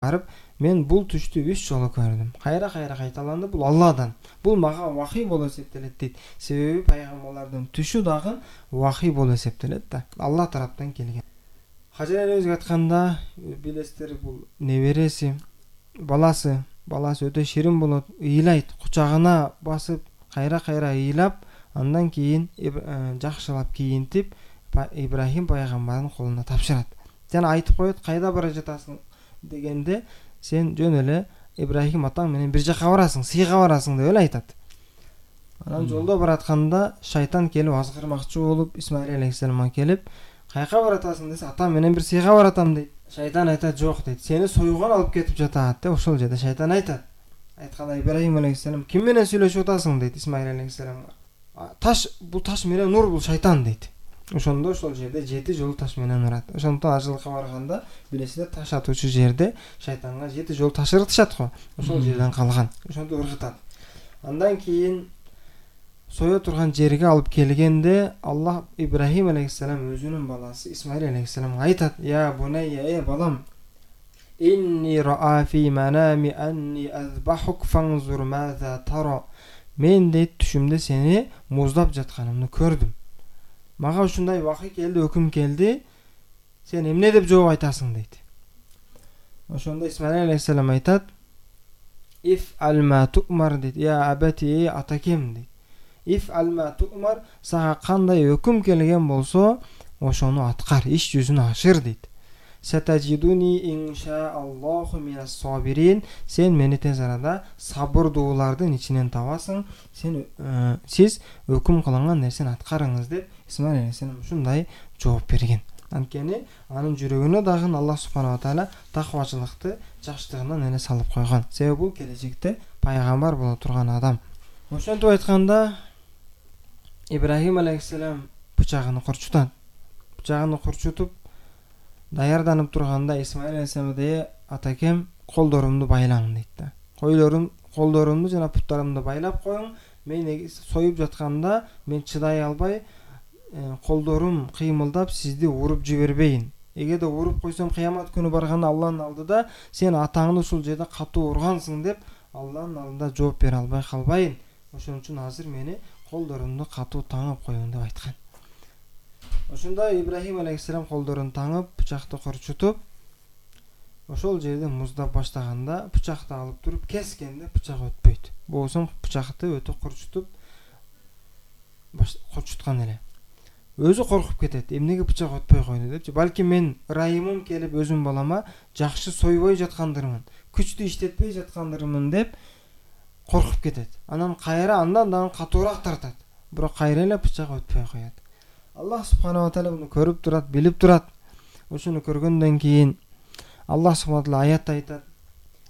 барып, мен бул түштү 3 жолу көрдүм. Кайра кайталанды, бул Алладан. Бул мага вахий болуп эсептелет дейт. Себеби пайгамбарлардын түшү дагы вахий болуп эсептелет да. Алла тараптан келген. Хажар энебизге айтканда, билесиздер, бул небереси, баласы өтө ширин болот, ыйлайт, кучагына басып, кайра ыйлап, андан кийин жакшылап кийинтип, Ибрахим пайгамбардын колуна тапшырат. Жана айтып коет, кайда бара жатасың дегенде, сен жөн эле Ибрахим атаң менен бир жака барасың, сыйга барасың деп эле айтат. Анан жолдо баратканда шайтан келип азгырмакчы болуп, Исмаил алейхиссаламга келип, кайка баратасың десе, атам менен бир сыйга баратам дейт. Шайтан айтат, жок дейт, сени союган алып кетип жатат деп ошол жерде шайтан айтат. Айтканда Ибрахим алейхиссалам, ким менен сүйлөшүп атасың дейт Исмаил алейхиссаламга. Бул таш менен ур, бул шайтан дейт. Ошондо ошол жерде 7 жолу таш менен урат. Ошондон ажылыкка барганда, билесиздер, таш атуучу жерде шайтанга 7 жолу таш ыргытышат го. Ошол жерден калган. Ошондо ыргытат. Андан кийин сое турган жерге алып келгенде, Аллах Ибрахим алейхиссалам өзүнүн баласы Исмаил алейхиссаламга айтат: "Я бунайя, балам, инни ра'a фи манами анни азбахук фанзур маза тара." Мен дейт түшүмдө сени муздап жатканымды көрдүм. Мага ушундай вахий келди, өкүм келди. Сен эмне деп жооп айтасың дейт. Ошондо Исмаил алейхиссалам айтат: "Иф алма ту'мар" дейт. "Я абати, атакем" дейт. "Иф алма ту'мар", сага кандай өкүм келген болсо, ошону аткар, иш жүзүн ашыр дейт. "Сатажидуни иншааллаху минас сабирин", сен мени тез арада сабырдуулардын ичинен табасың. Сиз өкүм кылынган нерсени аткарыңыз деп Исмаил алейхиссалам ушундай жооп берген. Анткени анын жүрөгүнө дагы Аллах субханала тааля таквачылыкты жаштыгынан эле салып койгон. Себеби бул келечекте пайгамбар боло турган адам. Ошентип айтканда, Ибрахим алейхиссалам бычагын курчутат. Бычагын курчутуп даярданып турганда Исмаил алейхиссалам дейт: "Атакем, колдорумду байлаң" дейт да. Колдорумду жана буттарымды байлап коюң. Мен союп жатканда мен чыдай албай, колдорум кыймылдап сизди уруп жибербейин. Эгерде уруп койсом, кыямат күнү барганда Алланын алдыда сен атаңды ушул жерде катуу ургансың деп Алланын алдында жооп бере албай калбайын. Ошон үчүн азыр мени колдорумду катуу таңып коюң деп айткан. Ошондо Ибрахим алейхиссалам колдорун таңып, бычакты курчутуп, ошол жерде муздап баштаганда, бычакты алып туруп кескенде бычак өтпөйт. Болсо бычакты өтө курчуткан эле. Өзү коркуп кетет. Эмнеге бычак өтпөй койду депчи. Балки мен ырайымым келип өзүм балама жакшы сойбой жаткандырмын, күчтү иштетпей жаткандырмын деп коркуп кетет. Анан андан дагы катуураак тартат. Бирок кайра эле бычак өтпөй коет. Аллах субханала тааля муну көрүп турат, билип турат. Ошону көргөндөн кийин Аллах субханала тааля аятта айтат: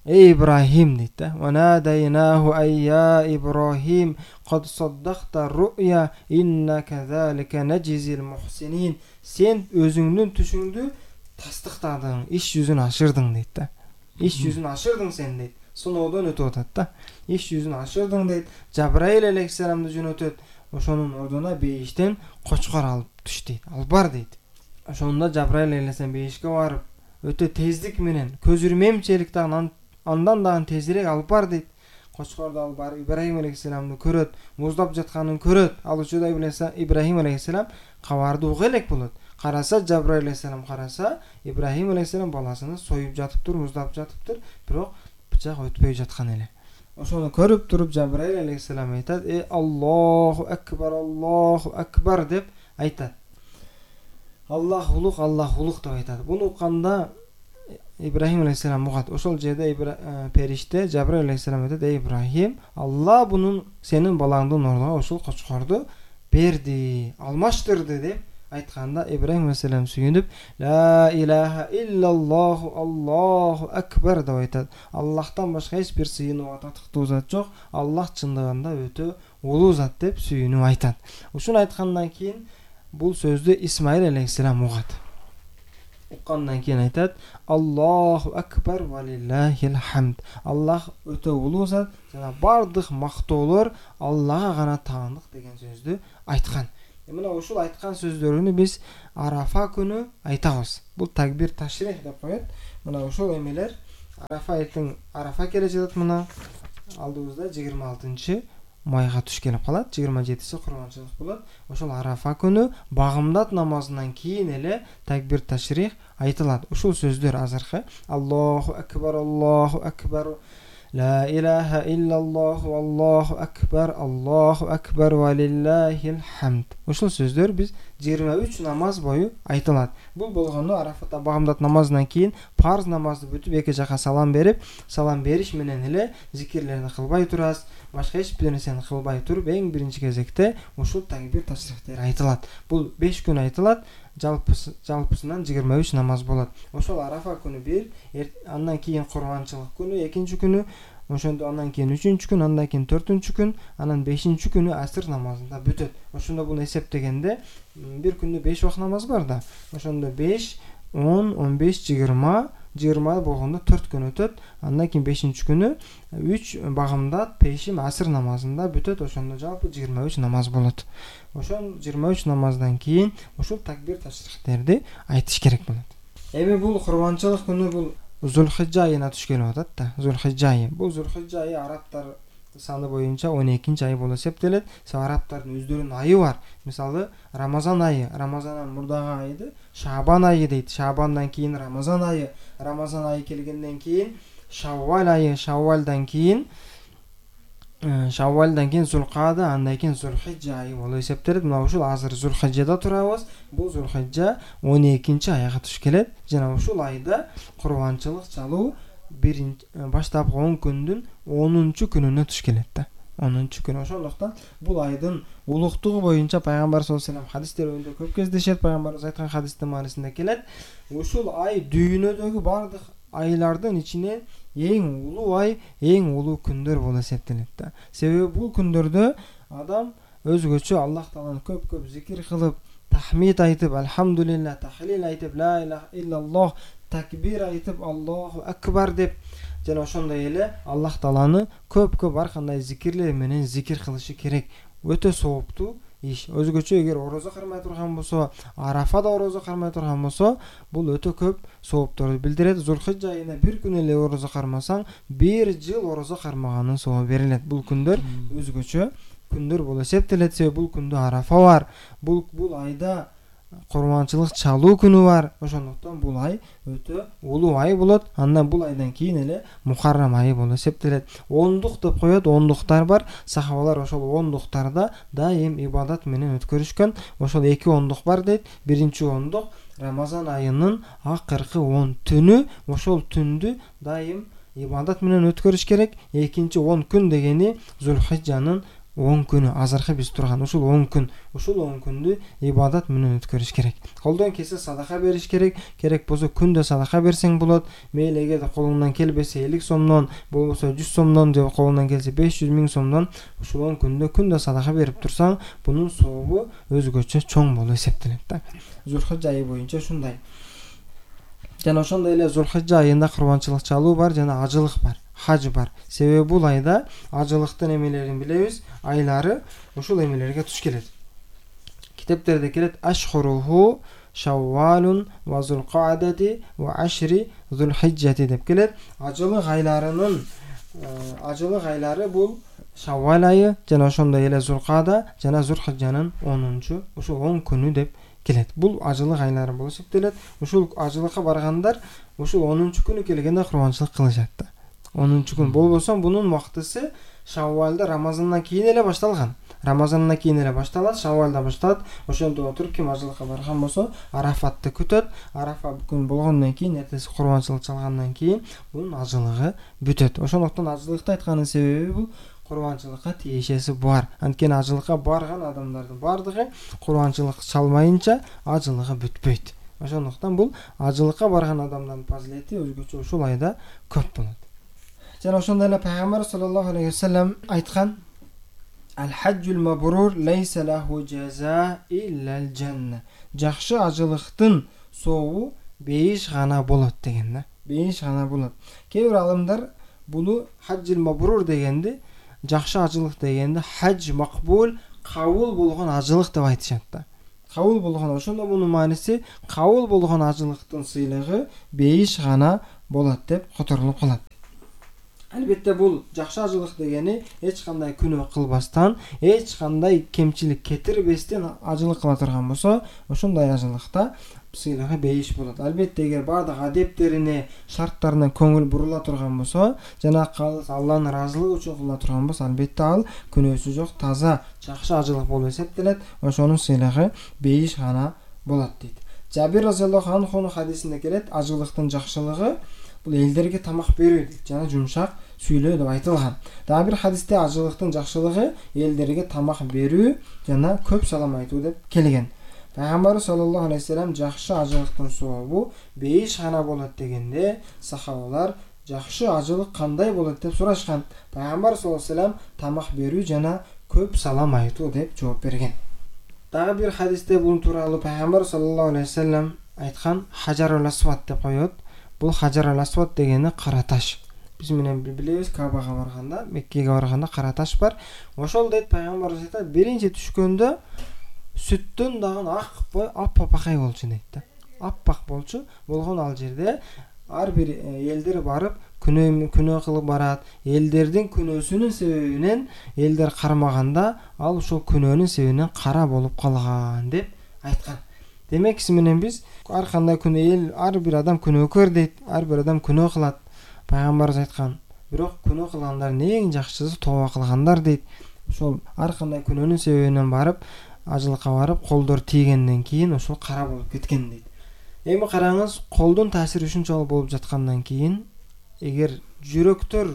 "Эй Ибрахим" дейт да. "Ва надайнаху айя Ибрахим, кад саддакта ру'я, инна казалика наджизил мухсинин." Сен өзүңдүн түшүңдү тастыктадың, иш жүзүн ашырдың дейт да. Иш жүзүн ашырдың сен дейт. Сыноодон өтүп атат да. Иш жүзүн ашырдың дейт. Жабраил алейхиссаламды жөнөтөт. Ошонун ордуна бейиштен кочкор алып түш дейт. Алып бар дейт. Ошондо Жабраил алейхиссалам бейишке барып, өтө тездик менен, көз ирмемчилик дагы андан дагы тезирээк алып бар дейт. Кочкорду алып барып Ибрахим алейхиссаламды көрөт, муздап жатканын көрөт. Ал учурда Ибрахим алейхиссалам кабарды уга элек болот. Караса, Жабраил алейхиссалам караса, Ибрахим алейхиссалам баласыны союп жатыптыр, муздап жатыптыр, бирок бычак өтпөй жаткан эле. Ошону көрүп туруп Жабраил алейхиссалам айтат: Аллаху акбар" деп айтат. Аллах улук деп айтат. Буну укканда Ибрахим алейхиссалам угат. Ошол жерде периште Жабраил алейхиссалам айтат: "Эй Ибрахим, Алла бунун сенин балаңдын ордуна ушул кочкорду берди, алмаштырды" деп айтканда Ибрахим алейхиссалам сүйүнүп: "Ла илаха иллаллаху Аллаху акбар" деп айтат. Аллахтан башка эч бир сыйынууга татыктуу зат жок. Аллах чындыгында өтө улуу зат деп сүйүнүп айтат. Ушуну айткандан кийин бул сөздү Исмаил алейхиссалам угат. Уккандан кийин айтат: "Аллаху акбар ва лиллахил хамд." Аллах өтө улуу зат жана бардык мактоолор Аллага гана таандык деген сөздү айткан. Мына ушул айткан сөздөрүнү биз Арафа күнү айтабыз. Бул такбир ташрих деп коет. Мына ушул эмелер Арафа эртең Арафа келе жатат, мына алдыбызда 26 майга туш келип калат, 27-си курбанчылык болот. Ошол Арафа күнү багымдат намазынан кийин эле такбир ташрих айтылат. Ушул сөздөр азыркы Аллаху акбар, ла илаха иллаллах, Аллаху акбар ва лиллахил хамд. Ушул сөздөр биз 23 намаз бою айтылат. Бул болгону Арафата багымдат намазынан кийин парз намазды бүтүп эки жака салам берип, салам бериш менен эле зикирлерди кылбай турасыз. Башка эч бир нерсени кылбай туруп, эң биринчи кезекте ушул такбир ташрихтер айтылат. Бул 5 күн айтылат. Жалпысынан 23 намаз болот. Ошол Арафа күнү бир, андан кийин курбанчылык күнү, экинчи күнү, ошондо андан кийин 3-күн, андан кийин 4-күн, анан 5-күнү асыр намазында бүтөт. Ошондо буну эсептегенде бир күндө 5 убакыт намаз бар да. Ошондо 5, 10, 15, 20 болгондо 4 күн өтөт. Андан кийин 5-күнү 3 багымдат пешим асыр намазында бүтөт. Ошондо жалпы 23 намаз болот. Ошол 23 намаздан кийин ушул такбир ташрихтерди айтыш керек болот. Эми бул курбанчылык күнү бул Зулхижжа айына туш келип атат да. Зулхижжа айы. Бул Зулхижжа айы арабтар саны боюнча 12-чи ай болуп эсептелет. Арабтардын өздөрүнүн айы бар. Мисалы Рамазан айы, Рамазандан мурдагы айды Шабан айы дейт. Шабандан кийин Рамазан айы, Рамазан айы келгенден кийин Шаввал айы, Шаввалдан кийин Зулкада, андан кийин Зулхижжа айы болуп эсептелет. Мына ушул азыр Зулхижжада турабыз. Бул Зулхижжа 12-чи айга туш келет. Жана ушул айда курбанчылык чалуу баштапкы 10 күндүн 10-чу күнүнө туш келет да. 10-чу күн. Ошондуктан бул айдын улуктугу боюнча пайгамбар саллаллаху алейхи вассалам хадистеринде көп кездешет. Пайгамбарыбыз айткан хадистин маанисинде келет. Ушул ай дүйнөдөгү бардык айлардын ичинен эң улуу ай, эң улуу күндөр болуп эсептелет да. Себеби бул күндөрдө адам өзгөчө Аллах Тааланы көп зикир кылып, тахмид айтып, алхамдулилlah, тахлил айтып, ла илаха иллаллах, такбир айтып, Аллаху акбар деп, жана ошондой эле Аллах Тааланы көп ар кандай зикирлер менен зикир кылышы керек. Өтө сооптуу иш. Өзгөчө эгер орозо кармай турган болсо, Арафада орозо кармай турган болсо, бул өтө көп соопторду билдирет. Зулхижжа айына бир күн эле орозо кармасаң, бир жыл орозо кармаганын сообу берилет. Бул күндөр өзгөчө күндөр болуп эсептелет. Себеби бул күндө Арафа бар. Бул айда курбанчылык чалуу күнү бар. Ошондуктан бул ай өтө улуу ай болот. Андан бул айдан кийин эле Мухаррам айы болуп эсептелет. Ондук деп коет, ондуктар бар. Сахабалар ошол ондуктарда дайым ибадат менен өткөрүшкөн. Ошол 2 ондук бар дейт. Биринчи ондук Рамазан айынын акыркы 10 түнү, ошол түндү дайым ибадат менен өткөрүш керек. Экинчи 10 күн дегени Зулхижжанын 10 күнү, азыркы биз турган ушул 10 күн. Ушул 10 күндү ибадат менен өткөрүш керек. Колдон келсе садака бериш керек. Керек болсо күндө садака берсең болот. Мейли эгерде колуңдан келбесе 50 сомдон, болбосо 100 сомдон, же колуңдан келсе 500 миң сомдон ушул 10 күндө садака берип турсаң, бунун сообу өзгөчө чоң болуп эсептелет да. Зулхижжа айы боюнча ушундай. Жана ошондой эле Зулхижжа айында курбанчылык чалуу бар, жана ажылык бар. Хаж бар. Себеби бул айда ажылыктын эмелерин билебиз, айлары ушул эмелерге туш келет. Китептерде келет: Ашхуруху Шаввалун ва Зулкадати ва Ашри Зулхижжати деп келет. Ажылык айлары бул Шаввал айы, жана ошондой эле Зулкада, жана Зулхижжанын 10-чу, ушул 10 күнү деп келет. Бул ажылык айлары болуп эсептелет. Ушул ажылыкка баргандар ушул 10-чу күнү келгенде курбанчылык кылышат да. 10-чу күн болбосо бунун убактысы Шаввалда Рамазандан кийин эле башталган. Рамазандан кийин эле башталат, Шаввалда башталат. Ошондо отуруп ким ажылыкка барган болсо, Арафатты күтөт. Арафа күн болгондон кийин, эртеси курбанчылык чалгандан кийин бунун ажылыгы бүтөт. Ошондуктан ажылыкты айтканын себеби бул курбанчылыкка тиешеси бар. Анткени ажылыкка барган адамдардын бардыгы курбанчылык чалмайынча ажылыгы бүтпөйт. Ошондуктан бул ажылыкка барган адамдардын фазилети өзгөчө ушул айда көп болот. Жана ошондой эле пайгамбар саллаллаху алейхи вассалам айткан: Аль-хаджул мабрур лейса лаху жаза иллал жанна. Жакшы ажылыктын сообу бейиш гана болот деген да. Бейиш гана болот. Кээ бир алымдар буну хаджул мабрур дегенди, жакшы ажылык дегенди хадж макбул, кабыл болгон ажылык деп айтышат да. Кабыл болгон, ошондо мунун мааниси кабыл болгон ажылыктын сыйлыгы бейиш гана болот деп которулуп калат. Албетте бул жакшы ажылык дегени эч кандай күнөө кылбастан, эч кандай кемчилик кетирбестен ажылык кыла турган болсо, ошондой ажылыкта сыйлыгы бейиш болот. Албетте эгер бардык адептерине, шарттарына көңүл бурула турган болсо, жана Алланын ыраазылыгы үчүн кыла турган болсо, албетте ал күнөөсү жок, таза, жакшы ажылык болуп эсептелет. Ошонун сыйлыгы бейиш гана болот дейт. Жабир разияллаху анхунун хадисинде келет, ажылыктын жакшылыгы бул элдерге тамак берүү жана жумшак сүйлөө деп айтылган. Дагы бир хадисте ажылыктын жакшылыгы элдерге тамак берүү жана көп салам айтуу деп келген. Пайгамбар саллаллаху алейхи вассалам жакшы ажылыктын сообу бейиш гана болот дегенде, сахабалар жакшы ажылык кандай болот деп сурашкан. Пайгамбар саллаллаху алейхи вассалам тамак берүү жана көп салам айтуу деп жооп берген. Дагы бир хадисте бул тууралуу Пайгамбар саллаллаху алейхи вассалам айткан хажарул асват деп коет. Бул хажарул асват дегени кара таш. Биз менен билебиз, Кабага барганда, Меккеге барганда кара таш бар. Ошол дейт Пайгамбар айтат, биринчи түшкөндө сүттөн дагы аппакай болчу дейт да. Аппак болчу. Болгон ал жерде ар бир элдер барып күнөө кылып барат. Элдердин күнөөсүнүн себебинен элдер кармаганда ал ошол күнөөнүн себебинен кара болуп калган деп айткан. Демек, сиз менен биз ар кандай күнөө ар бир адам күнөөкөр дейт. Ар бир адам күнөө кылат. Пайгамбарыбыз айткан. Бирок күнөө кылгандардын эң жакшысы тооба кылгандар дейт. Ошол ар кандай күнөөнүн себебинен барып ажылыкка барып колдор тийгенден кийин ошол кара болуп кеткен дейт. Эми караңыз, колдун таасири ушунчалык болуп жаткандан кийин, эгер жүрөктөр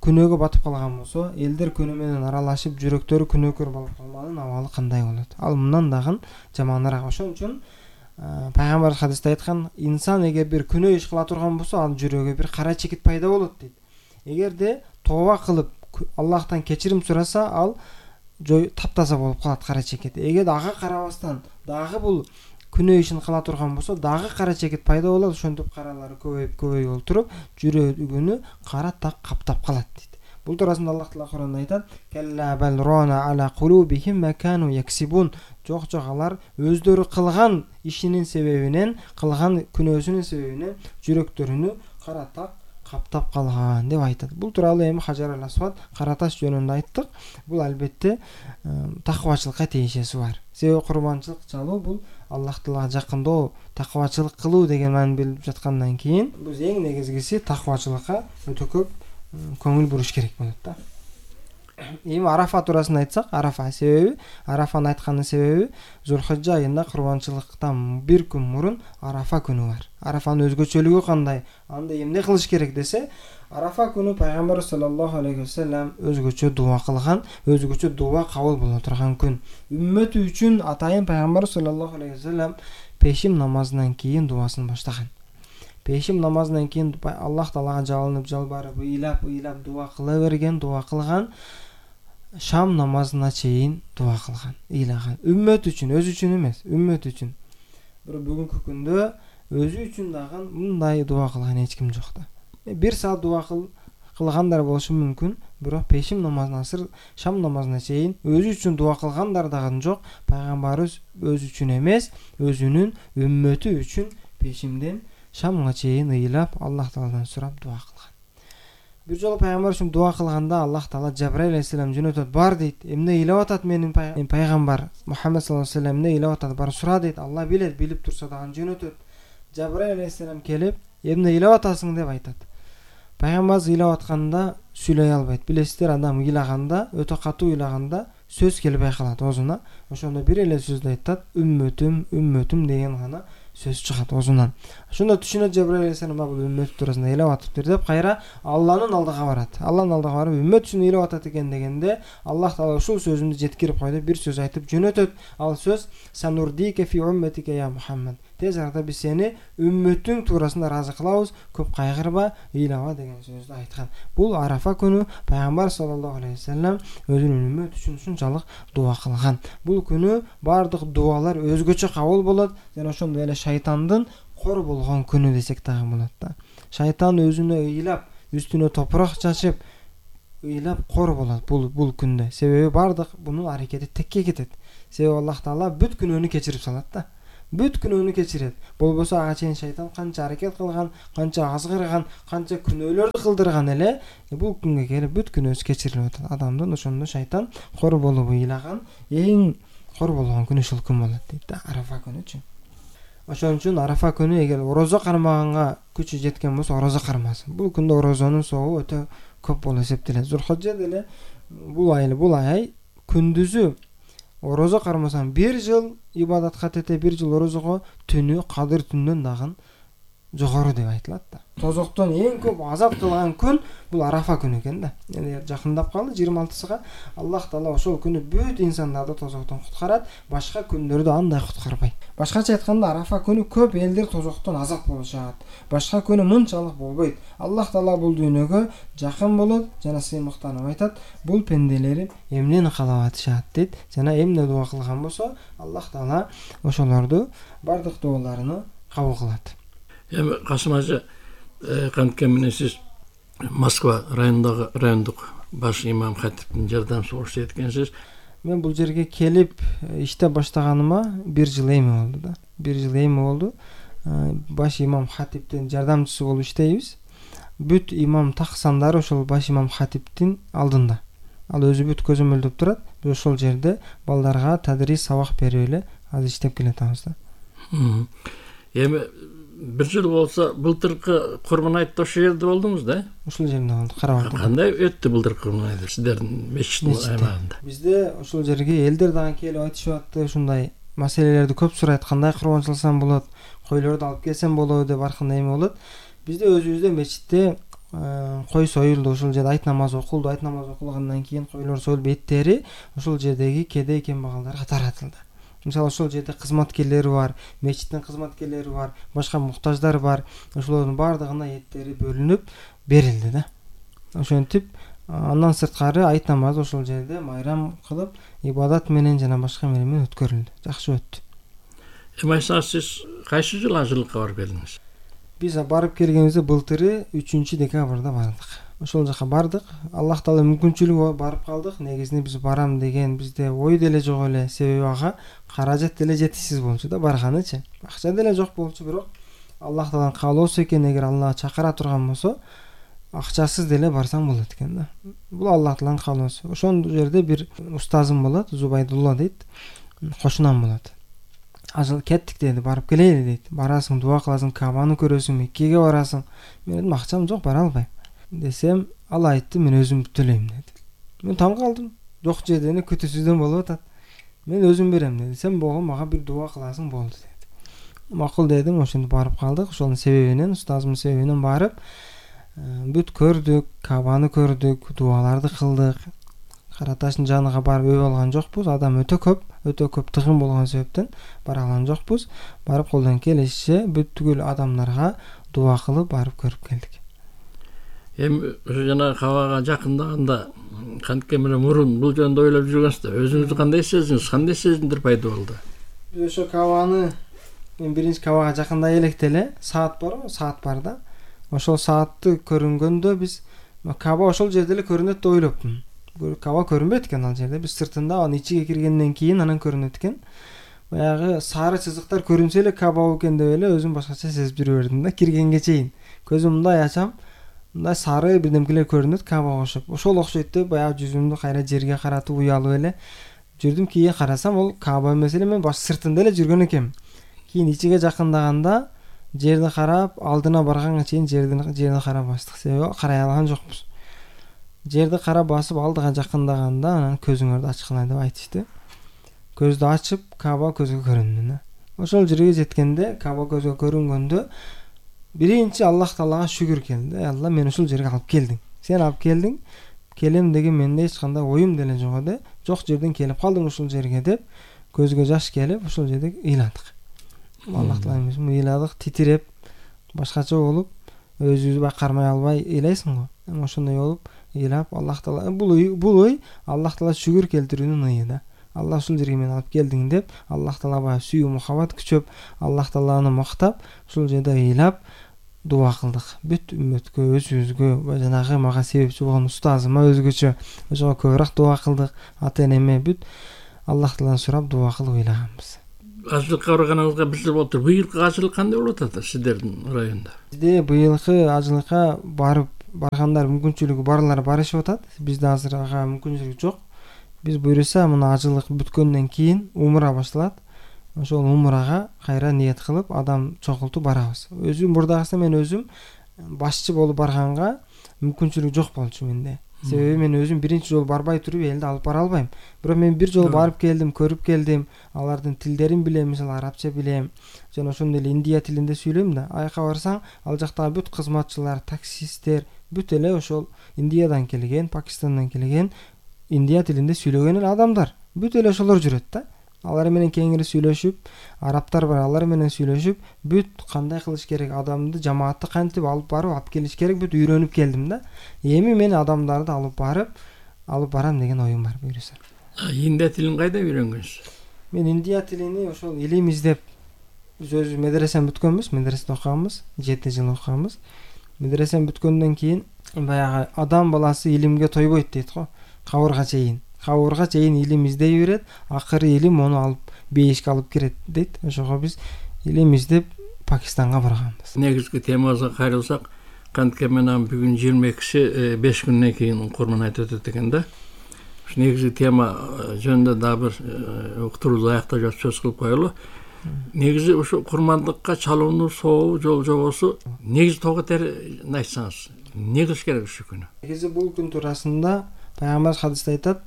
күнөөгө батып калган болсо, элдер күнөө менен аралашып, жүрөктөрү күнөөкөр болуп калганын абалы кандай болот? Ал мындан дагы жаманыраак. Ошон үчүн Пайгамбар хадисте айткан, инсан эгер бир күнөө иш кыла турган болсо, ал жүрөгү бир кара чекит пайда болот дейт. Эгерде тооба кылып, Аллахтан кечирим сураса, ал таптаза болуп калат кара чекит. Эгер ага карабастан дагы бул күнөө ишин кыла турган болсо, дагы кара чекит пайда болот. Ошентип каралары көбөйүп олтуруп, жүрөгүнү кара так каптап калат дейт. Бул туурасында Аллах Таала Куранда айтат: "Калла бал рона ала кулубихим ма кану яксибун." Жок, алар өздөрү кылган ишинин себебинен, кылган күнөөсүнүн себебинен жүрөктөрүнү кара так каптап калган деп айтат. Бул тууралуу эми хажарул асват, кара таш жөнүндө айттык. Бул албетте таквачылыкка тиешеси бар. Себеби курбанчылык чалуу бул Аллах Таалага жакындоо, таквачылык кылуу деген маани билип жаткандан кийин, биз эң негизгиси таквачылыкка өтө көп көңүл буруш керек болот да. Эми Арафа туурасында айтсак, Арафаны айткандын себеби Зулхижжа айында курбанчылыктан бир күн мурун Арафа күнү бар. Арафанын өзгөчөлүгү кандай? Анда эмне кылыш керек десе, Арафа күнү Пайгамбар саллаллаху алейхи вассалам өзгөчө дуа кылган, өзгөчө дуа кабыл боло турган күн. Үммөтү үчүн атайын Пайгамбар саллаллаху алейхи вассалам пешим намазынан кийин дуасын баштаган. Пешим намазынан кийин Аллах Таалага жалынып, жалбарып, ыйлап дуа кыла берген, дуа кылган. Шам намазына чейин дуа кылган, ыйлаган. Үммөт үчүн, өзү үчүн эмес, үммөт үчүн. Бирок бүгүнкү күндө өзү үчүн дагы мындай дуа кылган эч ким жок да. Бир саат дуа кылгандар болушу мүмкүн, бирок пешим намазына, шам намазына чейин өзү үчүн дуа кылгандар дагы жок. Пайгамбарыбыз өзү үчүн эмес, өзүнүн үммөтү үчүн пешимден шамга чейин ыйлап, Аллах Тааладан сурап дуа кылган. Бир жолу Пайгамбар үчүн дуа кылганда Аллах Таала Жабраил алейхиссалам жөнөтөт, бар дейт. Эмне ыйлап атат менин пайгамбар Мухаммад саллаллаху алейхи вассалам, эмне ыйлап атат, бар сура дейт. Алла билет, билип турса дагы жөнөтөт. Жабраил алейхиссалам келип, эмне ыйлап атасың деп айтат. Пайгамбар ыйлап атканда сүйлөй албайт. Билесиздер, адам ыйлаганда, өтө катуу ыйлаганда сөз келбей калат оозуна. Ошондо бир эле сөздү айтат, үммөтүм деген гана сөз чыгат оозунан. Ошондо түшүнөт Жабраил алейхиссалам, бул үммөт туурасында ыйлап атыптыр деп, кайра Алланын алдыга барат. Алланын алдыга барып, үммөт үчүн ыйлап атат экен дегенде, Аллах Таала ушул сөзүндү жеткирип койду, бир сөз айтып жөнөтөт. Ал сөз: "Санурдика фи умматика я Мухаммад." Тез арада биз сени үммөтүң туурасында ыраазы кылабыз, көп кайгырба, ыйлаба деген сөздү айткан. Бул Арафа күнү Пайгамбар саллаллаху алейхи вассалам өзүнүн үммөт үчүн ушунчалык дуа кылган. Бул күнү бардык дуалар өзгөчө кабыл болот жана ошондой эле шайтандын кор болгон күнү десек дагы болот да. Шайтан өзүнө ыйлап, үстүнө топурак чачып, ыйлап кор болот бул күндө. Себеби бардык бунун аракети текке кетет. Себеби Аллах Таала бүт күнөөнү кечирип салат да. бүт күнөөнү кечирет. Болбосо ага чейин шайтан канча аракет кылган, канча азгырган, канча күнөөлөрдү кылдырган эле, бул күнгө келип бүт күнөөсү кечирилип атат. Адамдын ошондо шайтан кор болуп ыйлаган эң кор болгон күнү ушул күн болот дейт да, Арафа күнүчү. Ошон үчүн Арафа күнү эгер орозо кармаганга күчү жеткен болсо орозо кармасын. Бул күндө орозонун сообу өтө көп болуп эсептелет. Зулхажжа деле бул ай күндүзү орозо кармасаң 1 жыл ибадатка тете, 1 жыл орозого, түнү кадыр түндөн дагы жогору деп айтылат да. Тозоктон эң көп азап кылган күн бул Арафа күнү экен да. Эми жакындап калды 26-сыга. Аллах Таала ошол күнү бүт инсандарды тозоктон куткарат, башка күндөрдү андай куткарбайт. Башкача айтканда Арафа күнү көп элдер тозоктон азап болушат. Башка күнү мынчалык болбойт. Аллах Таала бул дүйнөгө жакын болот жана сыймыктанып айтат: "Бул пенделерим эмнени каалап атышат" дейт. Жана эмне дуа кылган болсо, Аллах Таала ошолорду бардык дуаларыны кабыл кылат. Эми Касым ажа, канткен менен сиз Москва райондук баш имам хатиптин жардамчысы экенсиз. Мен бул жерге келип иштеп баштаганыма 1 жыл эми болду да. 1 жыл эми болду. Баш имам хатиптин жардамчысы болуп иштейбиз. Бүт имам таксандары ошол баш имам хатиптин алдында. Ал өзү бүт көзөмөлдөп турат. Биз ошол жерде балдарга тадрис сабак берип эле азыр иштеп келатабыз да. Эми 1 жыл болсо, былтыркы Курман айтта ошол жерде болдуңуз да? Ошол жерде болду, Карабакта. Кандай өттү былтыркы Курман айты сиздердин мечиттин аймагында? Бизде ошол жерге элдер дагы келип айтышып атты, ушундай маселелерди көп сурайт, кандай курбан чалсам болот, койлорду алып келсем болобу деп ар кандай эме болот. Бизде өзүбүздө мечитте кой союлду, ошол жерде айт намазы окулду. Айт намазы окулгандан кийин койлор союлуп эттери ошол жердеги кедей кембагалдарга таратылды. Мисалы ошол жерде кызматкерлери бар, мечиттин кызматкерлери бар, башка муктаждар бар. Ошолордун бардыгына эттери бөлүнүп берилди да. Ошентип андан сырткары айт намазы ошол жерде майрам кылып, ибадат менен жана башка менен өткөрүлдү. Жакшы өттү. Эми айсаңыз, сиз кайсы жылы ажылыкка барып келдиңиз? Биз барып келгенибизде былтыры 3-декабрда бардык. Ошол жака бардык. Аллах Таала мүмкүнчүлүгү барып калдык. Негизинде биз барам деген бизде ой деле жок эле. Себеби ага каражат деле жетишсиз болчу да барганычы. Акча деле жок болчу, бирок Аллах Тааланын каалоосу экен, эгер Алла чакыра турган болсо, акчасыз деле барсаң болот экен да. Бул Аллах Тааланын каалоосу. Ошол жерде бир устазым болот, Зубайдулла дейт. Кошунам болот. Ажыл кеттик деди, барып келели дейт. Барасың, дуа кыласың, Кабаны көрөсүң, Меккеге барасың. Мен дедим, акчам жок, бара албайм. Десем, ал айтты, мен өзүм төлөйм деди. Мен таң калдым. Жок жерден күтүүсүздөн болуп атат. Мен өзүм берем деди. Сен болгон мага бир дуа кыласың болду деди. Макул дедим, ошентип барып калдык. Ошонун себебинен, устазымдын себебинен барып, бүт көрдүк, Кабаны көрдүк, дуаларды кылдык. Кара таштын жаныга барып өбө алган жокпуз. Адам өтө көп тыгын болгон себептен бара алган жокпуз. Барып колдон келишинче бүткүл адамдарга дуа кылып барып көрүп келдик. Эми жана Кабага жакындаганда кантке менен мурун бул жөнүндө ойлоп жүргөнсүздөр. Өзүңүздү кандай сездиңиз? Кандай сезимдер пайда болду? Биз ошо Кабаны мен биринчи Кабага жакындай электе эле саат барбы? Саат бар да. Ошол саатты көрүнгөндө биз Каба ошол жерде эле көрүнөт деп ойлоптум. Каба көрүнбөйт экен ал жерде. Биз сыртында анын ичиге киргенден кийин анан көрүнөт экен. Баягы сары чызыктар көрүнсө эле Каба экен деп эле өзүм башкача сезип жүрө бердим да. Киргенге чейин көзүм мындай ачам, мындай сары бирдемкелер көрүнөт Кабага окшоп. Ошол окшойт деп баягы жүзүмдү кайра жерге каратып уялып эле жүрдүм. Кийин карасам, ол Каба эмес эле, мен баш сыртында эле жүргөн экенмин. Кийин ичиге жакындаганда жерди карап, алдына барганга чейин жерди карап бастык. Себеби карай алган жокпуз. Жерди карап басып алдыга жакындаганда анан көзүңөрдү ачкыла деп айтышты. Көздү ачып, Каба көзгө көрүндү. Ошол жерге жеткенде, Каба көзгө көрүнгөндө биринчи Аллах Таалага шүгүр келди. Алла, мени ушул жерге алып келдиң. Сен алып келдиң. Келем деген менде эч кандай оюм деле жок эди. Жок жерден келип калдым ушул жерге деп көзгө жаш келип ошол жерде ыйладык. Аллах Таала эмесин ыйладык, титиреп, башкача болуп, өзүбүздү байкармай албай ыйлайсың го. Ошондой болуп ыйлап, Аллах Таала бул ой Аллах Таала шүгүр келтирүүнүн ыйы да. Алла ушул жерге мени алып келдиң деп, Аллах Таалага сүйүү мухаббат күчөп, Аллах Тааланы мактап, ушул жерде ыйлап дуа кылдык. Бүт үммөткө, өзүбүзгө, жанагы мага себепчи болгон устазыма өзгөчө ошого көбүрөөк дуа кылдык. Ата энеме бүт Аллах Тааланы сурап дуа кылып ыйлаганбыз. ажылыкка барганыңызга бир жыл болуптур. Быйылкы ажылык кандай болуп атат сиздердин районда? Бизде быйылкы ажылыкка баргандар мүмкүнчүлүгү барлар барышып атат. Бизде азыр ага мүмкүнчүлүк жок. Биз буйруса мына ажылык бүткөндөн кийин умра башталат. Ошол умрага кайра ниет кылып адам чогултуп барабыз. Өзүм мурдагысын мен өзүм башчы болуп барганга мүмкүнчүлүк жок болчу менде. Себеби мен өзүм биринчи жолу барбай туруп элди алып бара албайм. Бирок мен бир жолу барып келдим, көрүп келдим. Алардын тилдерин билем, мисалы арабча билем, жана ошондой эле индия тилинде сүйлөйм да. Аяка барсаң, ал жактагы бүт кызматчылар, таксисттер бүт эле ошол Индиядан келген, Пакистандан келген, индия тилинде сүйлөгөн эле адамдар. Бүт эле ошолор жүрөт да. Алар менен кеңири сүйлөшүп, арабтар бар, алар менен сүйлөшүп, бүт кандай кылыш керек, адамды, жамаатты кантип алып барып, алып келиш керек, бүт үйрөнүп келдим да. Эми мен адамдарды алып барам деген оюм бар буйруса. Индия тилин кайда үйрөнгөнсүз? Мен индия тилини ошол илим издеп, биз өзү медресени бүткөнбүз, медреседе окуганбыз, 7 жыл окуганбыз. Медресени бүткөндөн кийин баягы адам баласы илимге тойбойт дейт го, кабырга чейин илим издей берет, акыры илим ону алып бейишке алып кирет дейт. Ошого биз илим издеп Пакистанга барганбыз. Негизги темабызга кайрылсак, кантке менен бүгүн 22-си 5 күндөн кийин курман айт өтөт экен да. Ушу негизги тема жөнүндө дагы бир уктуруубузду аяктап жатып сөз кылып коелу. Негизи ушу курмандыкка чалууну сообу жол жобосу негизи тоо кетерин айтсаңыз, эмне кылыш керек ушул күнү? Негизи бул күн туурасында пайгамбар хадисте айтат,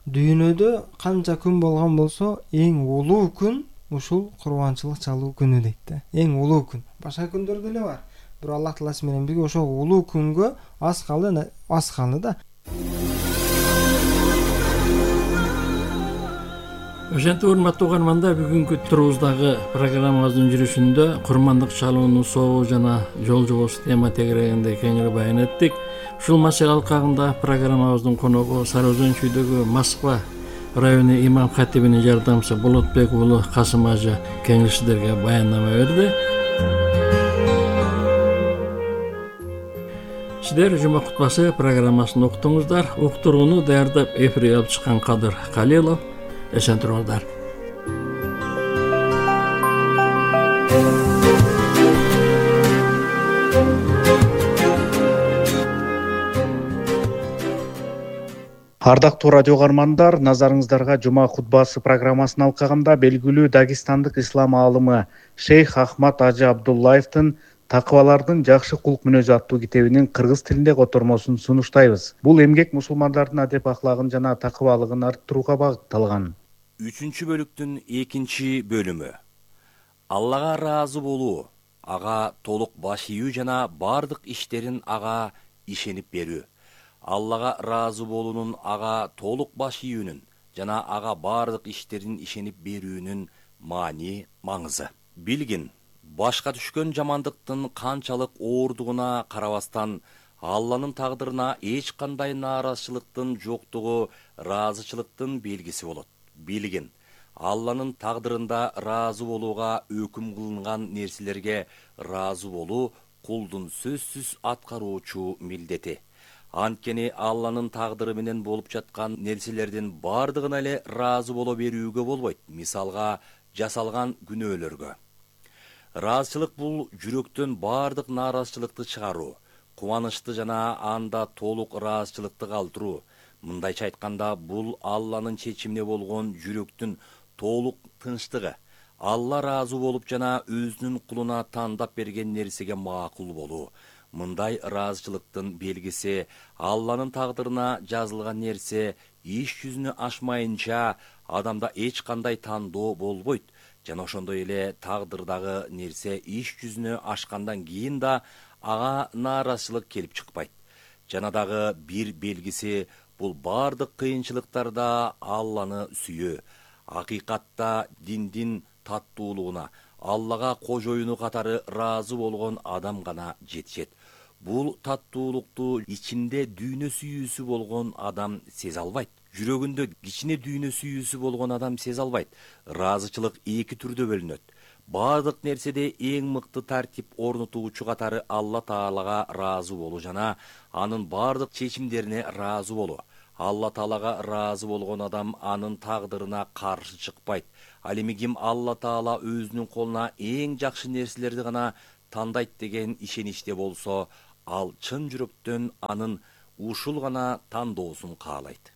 дүйнөдө канча күн болгон болсо эң улуу күн ушул курбанчылык чалуу күнү дейт да. Эң улуу күн. Башка күндөр деле бар. Бирок Аллах тааласы менен бирге ошол улуу күнгө аз калды да. Ошентип урматтуу угармандар, бүгүнкү турубуздагы программабыздын жүрүшүндө курмандык чалуунун сообу жана жол жобосу тема тегерегинде кеңири баян эттик. Ушул маселе алкагында программабыздын коногу Сары Өзөн чүйдөгү Москва району имам хатибинин жардамчысы Болотбек уулу Касым ажы кеңири сиздерге баяндама берди. Сиздер жума кутбасы программасын уктуңуздар. Уктурууну даярдап эфирге алып чыккан Кадыр Калилов. Эсен туруңуздар. Ардактуу радио угармандар, назарыңыздарга жума хутбасы программасын алкагында белгилүү дагестандык ислам аалымы Шейх Ахмад Ажы Абдуллаевдин Такыбалардын жакшы кулк мүнөзү аттуу китебинин кыргыз тилинде котормосун сунуштайбыз. Бул эмгек мусулмандардын адеп аклагын жана такыбалыгын арттырууга багытталган. 3-бөлүктүн 2-бөлүмү. Аллага ыраазы болуу, ага толук баш ийүү жана бардык иштерин ага ишенип берүү. Аллага ыраазы болуунун ага толук баш ийүүнүн жана ага бардык иштерин ишенип берүүнүн маани маңызы. Билгин, башка түшкөн жамандыктын канчалык оордугуна карабастан Алланын тагдырына эч кандай нааразычылыктын жоктугу ыраазычылыктын белгиси болот. Билгин, Алланын тагдырында ыраазы болууга өкүм кылынган нерселерге ыраазы болуу кулдун сөзсүз аткаруучу милдети. Анткени Алланын тагдыры менен болуп жаткан нерселердин бардыгына эле ыраазы боло берүүгө болбойт. Мисалга, жасалган күнөөлөргө. Ыраазычылык бул жүрөктөн бардык нааразычылыкты чыгаруу, кубанычты жана анда толук ыраазычылыкты калтыруу. Мындайча айтканда, бул Алланын чечимине болгон жүрөктүн толук тынчтыгы. Алла ыраазы болуп жана өзүнүн кулуна тандап берген нерсеге макул болуу. Мындай ыраазычылыктын белгиси Алланын тагдырына жазылган нерсе иш жүзүнө ашмайынча адамда эч кандай тандоо болбойт. Жана ошондой эле тагдырдагы нерсе иш жүзүнө ашкандан кийин да ага нааразычылык келип чыкпайт. Жана дагы бир белгиси бул бардык кыйынчылыктарда Алланы сүйүү. Акыйкатта диндин таттуулугуна, Аллага кожоюну катары ыраазы болгон адам гана жетишет. Бул таттуулукту ичинде дүйнө сүйүүсү болгон адам сезе албайт. Жүрөгүндө кичине дүйнө сүйүүсү болгон адам сезе албайт. Ыраазычылык 2 түрдө бөлүнөт. Бардык нерседе эң мыкты тартип орнотуучу катары Алла Таалага ыраазы болуу жана анын бардык чечимдерине ыраазы болуу. Алла Таалага ыраазы болгон адам анын тагдырына каршы чыкпайт. Ал эми ким Алла Таала өзүнүн колуна эң жакшы нерселерди гана тандайт деген ишеничте болсо, ал чын жүрөктөн анын ушул гана тандоосун каалайт.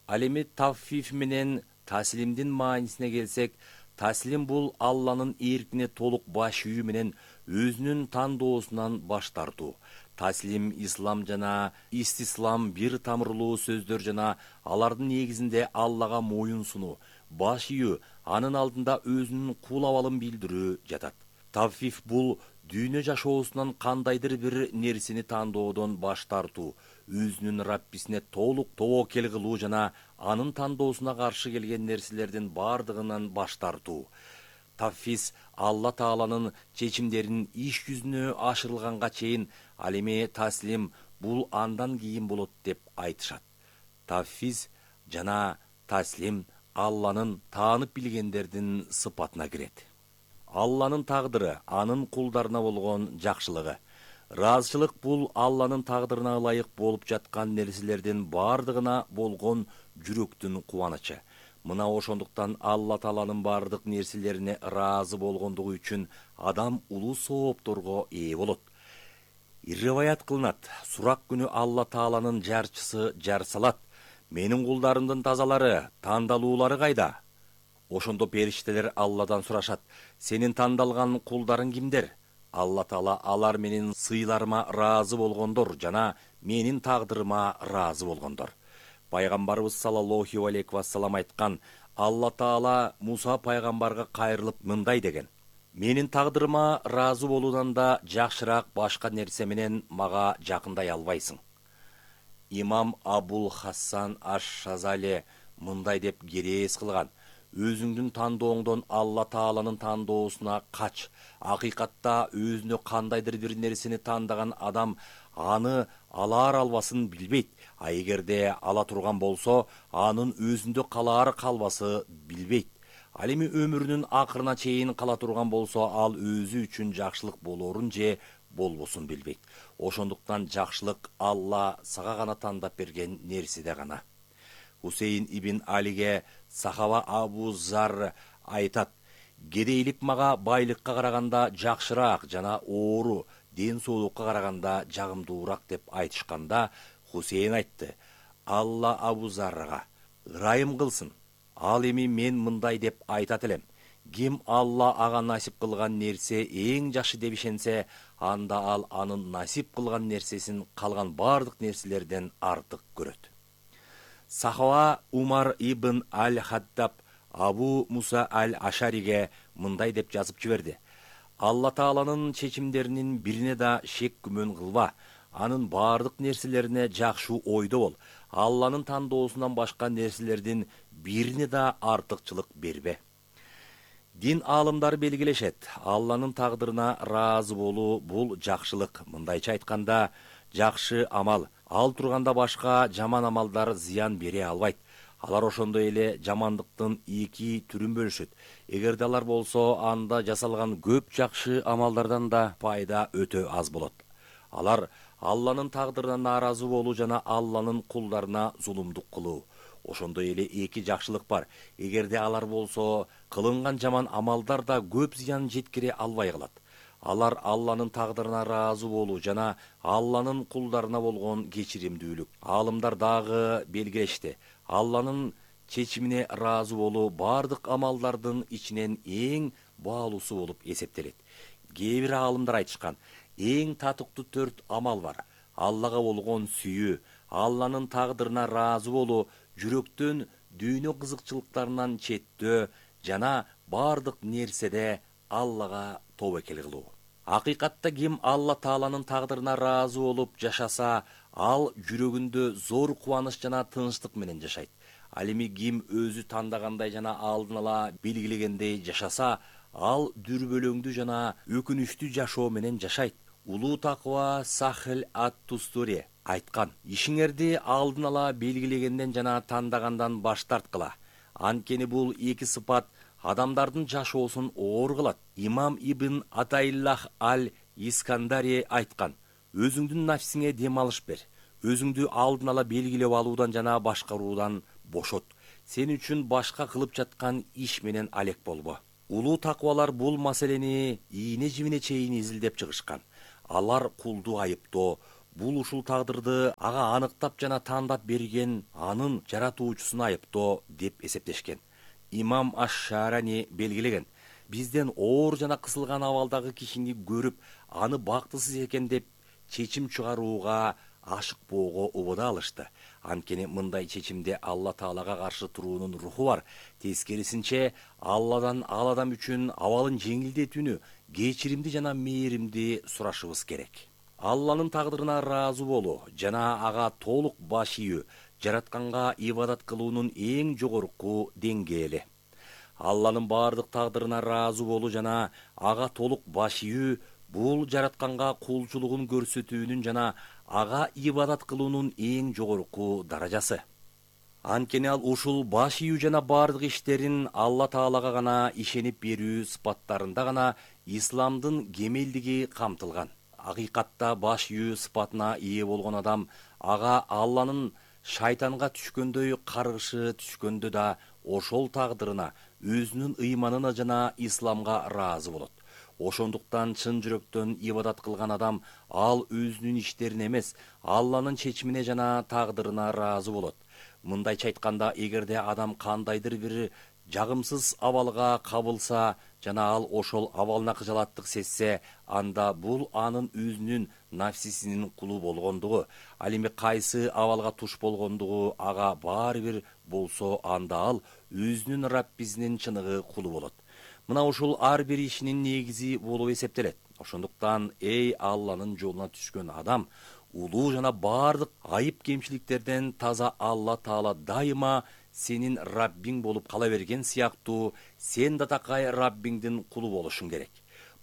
Ал эми таффиф менен таслимдин маанисине келсек, таслим бул Алланын эркине толук баш ийүү менен өзүнүн тандоосунан баш тартуу. Таслим, ислам жана истислам бир тамырлуу сөздөр жана алардын негизинде Аллага моюн сунуу, баш ийүү, анын алдында өзүнүн кул абалын билдирүү жатат. Таффиф бул дүйнө жашоосунан кандайдыр бир нерсени тандоодон баш тартуу, өзүнүн Раббисине толук тобокел кылуу жана анын тандоосуна каршы келген нерселердин бардыгынан баш тартуу. Таффис Алла Тааланын чечимдерин иш жүзүнө ашырылганга чейин, ал эми таслим бул андан кийин болот деп айтышат. Таффис жана таслим Алланын таанып билгендердин сыпатына кирет. Алланын тагдыры анын кулдарына болгон жакшылыгы. Ыраазычылык бул Алланын тагдырына ылайык болуп жаткан нерселердин бардыгына болгон жүрөктүн кубанычы. Мына ошондуктан Алла Тааланын бардык нерселерине ыраазы болгондугу үчүн адам улуу соопторго ээ болот. Риваят кылынат, сурак күнү Алла Тааланын жарчысы жар салат. Менин кулдарымдын тазалары, тандалуулары кайда? Ошондо периштелер Алладан сурашат: сенин тандалган кулдарың кимдер? Алла Таала алар менин сыйларыма ыраазы болгондор жана менин тагдырыма ыраазы болгондор. Пайгамбарыбыз саллаллаху алейхи вассалам айткан: Алла Таала Муса пайгамбарга кайрылып мындай деген: менин тагдырыма ыраазы болуудан да жакшыраак башка нерсе менен мага жакындай албайсың. Имам Абул Хасан аш-Шазали мындай деп керээс кылган: өзүңдүн тандооңдон Алла Тааланын тандоосуна кач. Акыйкатта өзүнө кандайдыр бир нерсени тандаган адам аны алар албасын билбейт, а эгерде ала турган болсо, анын өзүндө калаары калбасы билбейт. Ал эми өмүрүнүн акырына чейин кала турган болсо, ал өзү үчүн жакшылык болоорун же болбосун билбейт. Ошондуктан жакшылык Алла сага гана тандап берген нерседе гана. Хусейн ибн Алиге сахаба Абу Зар айтат: кедейлик мага байлыкка караганда жакшыраак жана оору, ден соолукка караганда жагымдуураак деп айтышканда, Хусейн айтты: Алла Абу Зарга ырайым кылсын. Ал эми мен мындай деп айтат элем: ким Алла ага насип кылган нерсе эң жакшы деп ишенсе, анда ал анын насип кылган нерсесин калган бардык нерселерден артык көрөт. Сахаба Умар ибн Аль-Хаттаб Абу Муса Аль-Ашариге мындай деп жазып жиберди: Алла Тааланын чечимдеринин бирине да шек күмөн кылба. Анын бардык нерселерине жакшы ойдо бол. Алланын тандоосунан башка нерселердин бирине да артыкчылык бербе. Дин аалымдары белгилешет: Алланын тагдырына ыраазы болуу бул жакшылык. Мындайча айтканда, жакшы амал. Ал турганда башка жаман амалдар зыян бере албайт. Алар ошондой эле жамандыктын эки түрүн бөлүшөт. Эгерде алар болсо, анда жасалган көп жакшы амалдардан да пайда өтө аз болот. Алар Алланын тагдырына нааразы болуу жана Алланын кулдарына зулумдук кылуу. Ошондой эле эки жакшылык бар. Эгерде алар болсо, кылынган жаман амалдар да көп зыян жеткире албай калат. Алар Алланын тагдырына ыраазы болуу жана Алланын кулдарына болгон кечиримдүүлүк. Аалымдар дагы белгилешти: Алланын чечимине ыраазы болуу бардык амалдардын ичинен эң баалуусу болуп эсептелет. Кээ бир аалымдар айтышкан: эң татыктуу 4 амал бар. Аллага болгон сүйүү, Алланын тагдырына ыраазы болуу, жүрөктөн дүйнө кызыкчылыктарынан четтөө жана бардык нерседе Аллага тобокел кылуу. Акыйкатта ким Алла Тааланын тагдырына ыраазы болуп жашаса, ал жүрөгүндө зор кубаныч жана тынчтык менен жашайт. Ал эми ким өзү тандагандай жана алдын ала белгилегендей жашаса, ал дүрбөлөңдүү жана өкүнүчтүү жашоо менен жашайт. Улуу таква Сахил ат-Тустури айткан: ишиңерди алдын ала белгилегенден жана тандагандан баш тарткыла. Анткени бул эки сыпат адамдардын жашоосун оор кылат. Имам ибн Атаиллах аль-Искандари айткан: өзүңдүн нафсиңе дем алыш бер. өзүңдү алдын ала белгилеп алуудан жана башкаруудан бошот. Сен үчүн башка кылып жаткан иш менен алек болбо. Улуу таквалар бул маселени ийне жибине чейин изилдеп чыгышкан. Алар кулду айыптоо, бул ушул тагдырды ага аныктап жана тандап берген анын жаратуучусуна айыптоо деп эсептешкен. Имам Аш-Шарани белгилеген: бизден оор жана кысылган абалдагы кишини көрүп, аны бактысыз экен деп чечим чыгарууга ашыкпоого убада алышты. Анткени мындай чечимде Алла Таалага каршы туруунун руху бар. Тескерисинче, Алладан ал адам үчүн абалын жеңилдетүүнү, кечиримди жана мээримди сурашыбыз керек. Алланын тагдырына ыраазы болуу жана ага толук баш ийүү жаратканга ибадат кылуунун эң жогорку деңгээли. Алланын бардык тагдырына ыраазы болуу жана ага толук баш ийүү бул жаратканга кулчулугун көрсөтүүнүн жана ага ибадат кылуунун эң жогорку даражасы. Анткени ал ушул баш ийүү жана бардык иштерин Алла Таалага гана ишенип берүү сыпаттарында гана исламдын кемелдиги камтылган. Акыйкатта баш ийүү сыпатына ээ болгон адам ага Алланын шайтанга түшкөндөй каргышы түшкөндө да ошол тагдырына, өзүнүн ыйманына жана исламга ыраазы болот. Ошондуктан чын жүрөктөн ибадат кылган адам ал өзүнүн иштерине эмес, Алланын чечимине жана тагдырына ыраазы болот. Мындайча айтканда, эгерде адам кандайдыр бир жагымсыз абалга кабылса жана ал ошол абалына кыжалаттык сезсе, анда бул анын өзүнүн нафсисинин кулу болгондугу, ал эми кайсы абалга туш болгондугу ага баары бир болсо, анда ал өзүнүн Раббисинин чыныгы кулу болот. Мына ушул ар бир ишинин негизи болуп эсептелет. Ошондуктан эй Алланын жолуна түшкөн адам, улуу жана бардык айып кемчиликтерден таза Алла Таала дайыма сенин Раббиң болуп кала берген сыяктуу, сен да такай Раббиңдин кулу болушуң керек.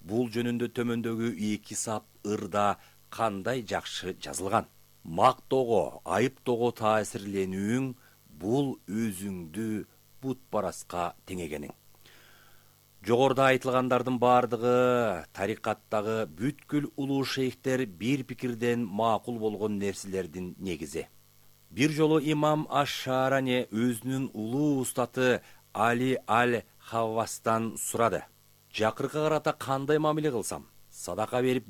Бул жөнүндө төмөндөгү 2 сап ырда кандай жакшы жазылган. Мактоого, айыптоого таасирленүүң бул өзүңдү бутпараска теңегениң. Жогоруда айтылгандардын бардыгы тарикаттагы бүткүл улуу шейхтер бир пикирден макул болгон нерселердин негизи. Бир жолу имам Аш-Шарани өзүнүн улуу устаты Али аль-Хаввастан сурады: жакыркы карата кандай мамиле кылсам? Садака берип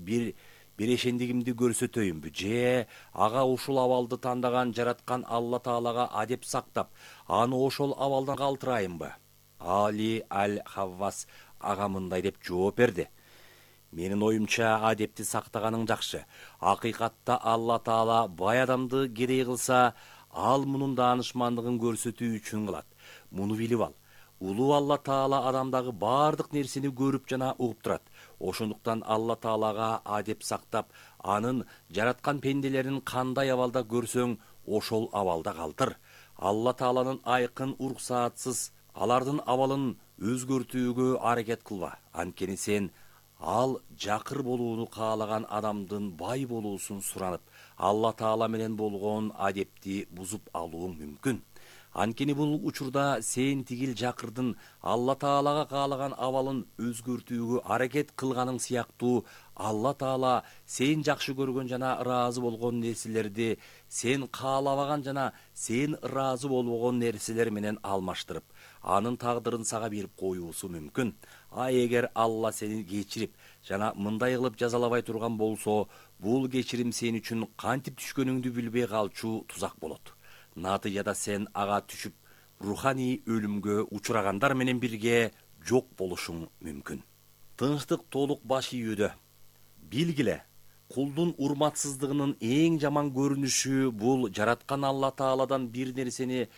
бирешендигимди көрсөтөйүмбү же ага ушул абалды тандаган жараткан Алла Таалага адеп сактап, аны ошол абалдан калтырайымбы? Али аль-Хаввас ага мындай деп жооп берди: менин оюмча адепти сактаганың жакшы. Акыйкатта Алла Таала бай адамды кедей кылса, ал мунун даанышмандыгын көрсөтүү үчүн кылат. Муну билип ал. Улуу Алла Таала адамдагы бардык нерсени көрүп жана угуп турат. Ошондуктан Алла Таалага адеп сактап, анын жараткан пенделерин кандай абалда көрсөң, ошол абалда калтыр. Алла Тааланын айкын уруксаатсыз алардын абалын өзгөртүүгө аракет кылба. Анткени сен ал жакыр болууну каалаган адамдын бай болуусун суранып, Алла Таала менен болгон адепти бузуп алууң мүмкүн. Анткени бул учурда сен тигил жакырдын Алла Таалага каалаган абалын өзгөртүүгө аракет кылганың сыяктуу, Алла Таала сен жакшы көргөн жана ыраазы болгон нерселерди сен каалабаган жана сен ыраазы болбогон нерселер менен алмаштырып, анын тагдырын сага берип коюусу мүмкүн. А эгер Алла сени кечирип жана мындай кылып жазалабай турган болсо, бул кечирим сен үчүн кантип түшкөнүңдү билбей калчу тузак болот. Натыйжада сен ага түшүп, руханий өлүмгө учурагандар менен бирге жок болушуң мүмкүн. Тынчтык толук баш ийүүдө. Билгиле, кулдун урматсыздыгынын эң жаман көрүнүшү бул жараткан Алла Тааладан бир нерсени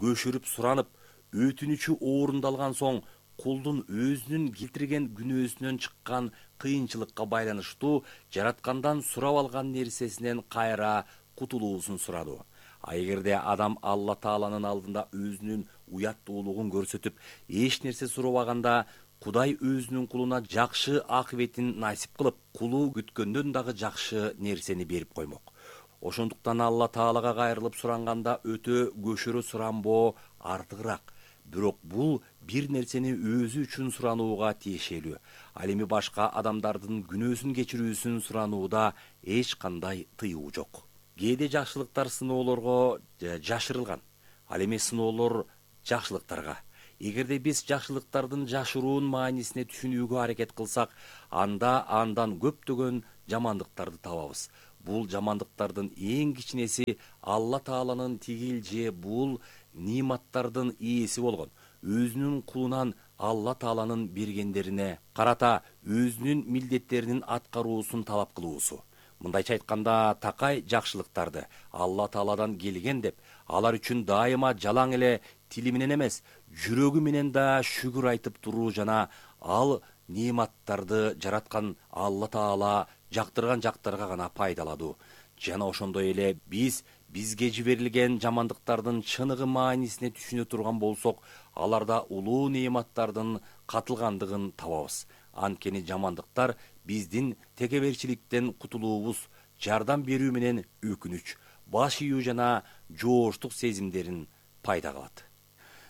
көшүрүп суранып, өтүнүчү орундалган соң кулдун өзүнүн келтирген күнөөсүнөн чыккан кыйынчылыкка байланыштуу жараткандан сурап алган нерсесинен кайра кутулуусун сурадуу. А эгерде адам Алла Тааланын алдында өзүнүн уяттуулугун көрсөтүп, эч нерсе сурабаганда, Кудай өзүнүн кулуна жакшы акыбетин насип кылып, кулу күткөндөн дагы жакшы нерсени берип коймок. Ошондуктан Алла Таалага кайрылып суранганда өтө көшөрө суранбоо артыгыраак. Бирок бул бир нерсени өзү үчүн суранууга тиешелүү. Ал эми башка адамдардын күнөөсүн кечирүүсүн суранууда эч кандай тыюу жок. кээде жакшылыктар сыноолорго жашырылган, ал эми сыноолор жакшылыктарга. Эгерде биз жакшылыктардын жашыруун маанисине түшүнүүгө аракет кылсак, анда андан көптөгөн жамандыктарды табабыз. Бул жамандыктардын эң кичинеси Алла Тааланын тигил же бул ниматтардын ээси болгон өзүнүн кулунан Алла Тааланын бергендерине карата өзүнүн милдеттеринин аткаруусун талап кылуусу. Мындайча айтканда, такай жакшылыктарды Алла Тааладан келген деп, алар үчүн дайыма жалаң эле тили менен эмес, жүрөгү менен да шүгүр айтып туруу жана ал нематтарды жараткан Алла Таала жактырган жактарга гана пайдаладуу. Жана ошондой эле бизге жиберилген жамандыктардын чыныгы маанисине түшүнө турган болсок, аларда улуу нематтардын катылгандыгын табабыз. Анткени жамандыктар биздин текеберчиликтен кутулуубуз, жардам берүү менен өкүнүч, баш ийүү жана жооштук сезимдерин пайда кылат.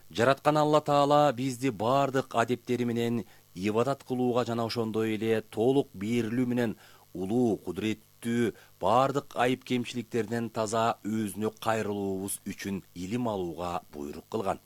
Жараткан Алла Таала бизди бардык адептери менен ибадат кылууга жана ошондой эле толук берилүү менен улуу, кудуреттүү, бардык айып кемчиликтерден таза өзүнө кайрылуубуз үчүн илим алууга буйрук кылган.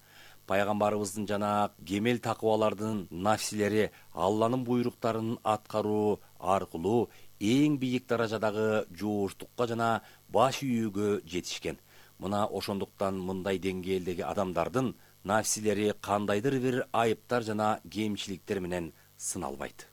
Пайгамбарыбыздын жана кемел такыбалардын нафсилери Алланын буйруктарын аткаруу аркылуу эң бийик даражадагы жооштукка жана баш ийүүгө жетишкен. Мына ошондуктан мындай деңгээлдеги адамдардын нафсилери кандайдыр бир айыптар жана кемчиликтер менен сыналбайт.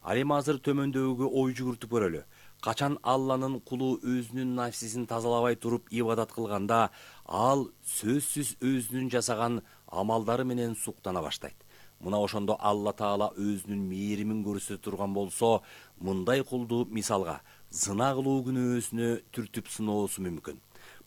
Ал эми азыр төмөндөгүгө ой жүгүртүп көрөлү. Качан Алланын кулу өзүнүн нафсисин тазалабай туруп ибадат кылганда, ал сөзсүз өзүнүн жасаган амалдары менен суктана баштайт. Мына ошондо Алла Таала өзүнүн мээримин көрсөтө турган болсо, мындай кулду мисалга зына кылуу күнөөсүнө түртүп сыноосу мүмкүн.